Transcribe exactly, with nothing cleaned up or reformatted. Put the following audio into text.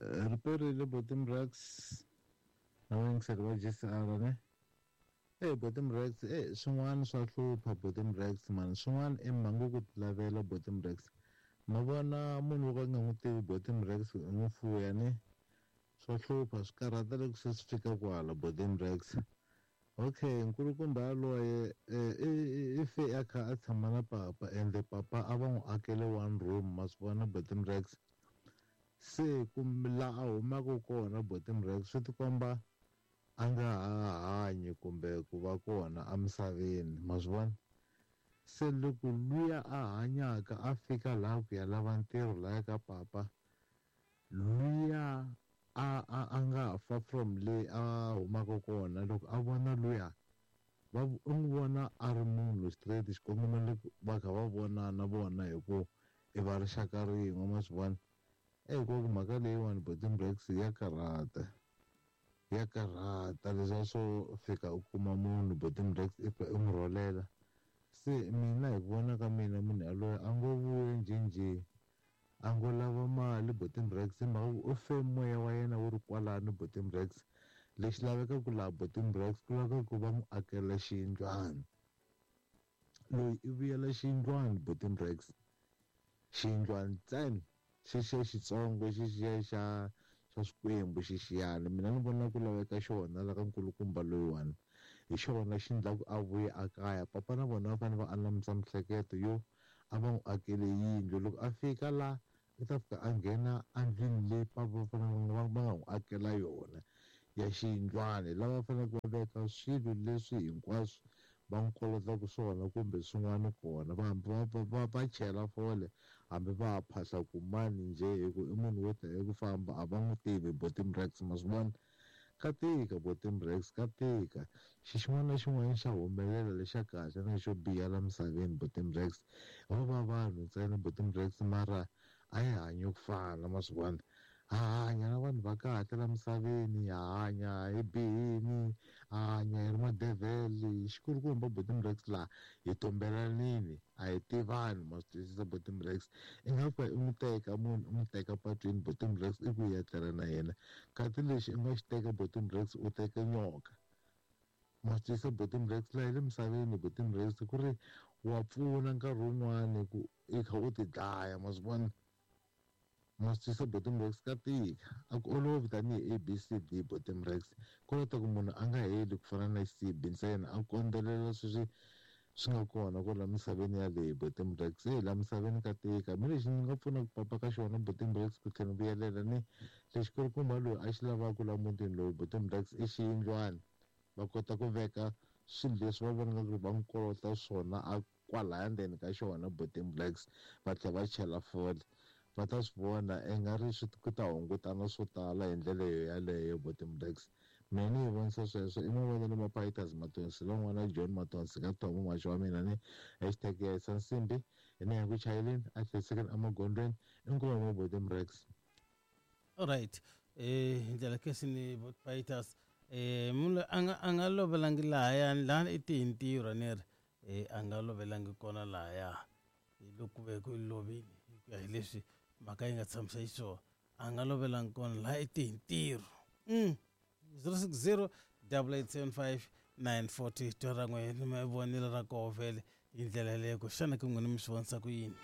Riperile Botem Rex na vayingiseri va G C R ne. Eh Botem Rex eh swin'wana swa hlupha Botem Rex mani swin'wana i mhangu ku tilavela Botem Rex. Ma vona munhu wo ka nga n'wi tivi Botem Rex u n'wi fuya ne. Swa hlupha swi karhata loko se swi fika kwala Botem Rex. Okay nkulukumba yaloye i fe a kha a tshama na papa ende papa a va n'wi akele one room ma swi vona Botem Rex. Se kumbe laha a humaka kona Botem Rex swi tikomba a nga ha hanyi kumbe ku va kona emisaveni ma swi vona. Se loko luya a hanyaka a fika laha ku ya lava ntirho lahaya ka papa luya a a a nga fa from le a humaka kona loko a vona luya va u n'wi vona a ri munhu straight xikongomelo va kha va vonana vona hi ku i va rixaka rin'we ma swi vona. Hikuva mhaka leyiwani Botem Rex ya karhata ya karhata leswiya swo fika u kuma munhu Botem Rex i fika u n'wi rholela. Se mina hi ku vona ka mina munhu yaloye a ngo vuya njhenjhe a ngo lava mali Botem Rex hi mhaka ku u fe moya wa yena wu ri kwalano Botem Rex. Lexi lavekaka laha Botem Rex ku laveka ku va n'wi akela xiyindlwana. Loyi i vuyela xiyindlwana Botem Rex xiyindlwana ntsena xexiya xitsongo xexiya xa xa swikwembu xexiyana mina ni vona ku laveka xona la ka nkulukumba loyiwani hi xona xi endlaku a vuya a kaya. Papa na vona va fanele va anamisa miehleketo yo a va n'wi akele yindlu loko a fika la i ta fika a nghena endlwini leyi papa va fanele va nga n'wi akela yona ya xiyindlwana lava faneleke va veka swilo leswi hinkwaswo va n'wi kolotaka swona kumbe swin'wana kona va va va va chela fole hambi va ha phahla kumani njhe hi ku i munhu wo ta hi ku famba a va n'wi tivi Botem Rex ma swi vona. Ka tika Botem Rex ka tika xi xin'wana na xin'wana xa humelela lexa kahle na xo biha la misaveni Botem Rex ho va vanhu ntsena Botem Rex mara a hi hanyi ku fana ma swi vona. Ha hanya na vanhu va kahle la misaveni ha hanya hi bihini ha hanya hi ri madevhele xikulukumba Botem Rex laha hi tumbelanini a hi tivani ma swi twisisa Botem Rex. I nga fika i n'wi teka munhu u n'wi teka patwini Botem Rex i ku ya tlela na yena kasi lexi u nga xi teka Botem Rex u teka nyoka ma swi twisisa Botem Rex laha hi le misaveni Botem Rex ku ri wa pfuna nkarhi wun'wani ku i kha u ti dlaya ma swi vona. Ma swi twisisa Botem Rex ka tika a ku olovi tanihi A B C D Botem Rex ku lata ku munhu a nga heli ku fana na C B ntsena a kondzelela sweswi swi nga kona kwala misaveni yaleyo Botem Rex. E laha misaveni ka tika mi lexi ni nga pfunaka papa ka xona Botem Rex ku tlhela ni vuyelela ni lexi kulukumba loyi a xi lavaka laha mutini lowu Botem Rex i xiyindlwana va kota ku veka swilo leswi va vonaka ku ri va n'wi kolota swona a kwalaya ndzeni ka xona Botem Rex va tlhela va chela fole va ta swi vona i nga ri swi ku ta hungutana swo tala hi ndlela yo yaleyo Botem Rex. Mina ni yi vonisa sweswo i mavonelo ma Pieters Matonsi lon'wana John Matonsi ka Thomo maxa wa mina ni hashtag ya yisa nsimbi hi ni ya ku chayeleni a hlayisekeni emagondzweni inkomu ma Botem Rex. Alright eh hi ndlela kesi ni Pieters eh munhu a nga a nga lovelangi lahayani laha i tihi ntirho ni ri eh a nga lovelangi kona lahaya hi loko ve ku lovile hi ku ya hi leswi mhaka yi nga tshamisa xiswona a nga lovelangi kona laha i tihi ntirho. Mm zero six zero double eight seven five nine four two twa ra n'we ni ma vonelo ra koho vhele hi ndlela yaleyo ku xana ku n'wina mi swi vonisa ku yini.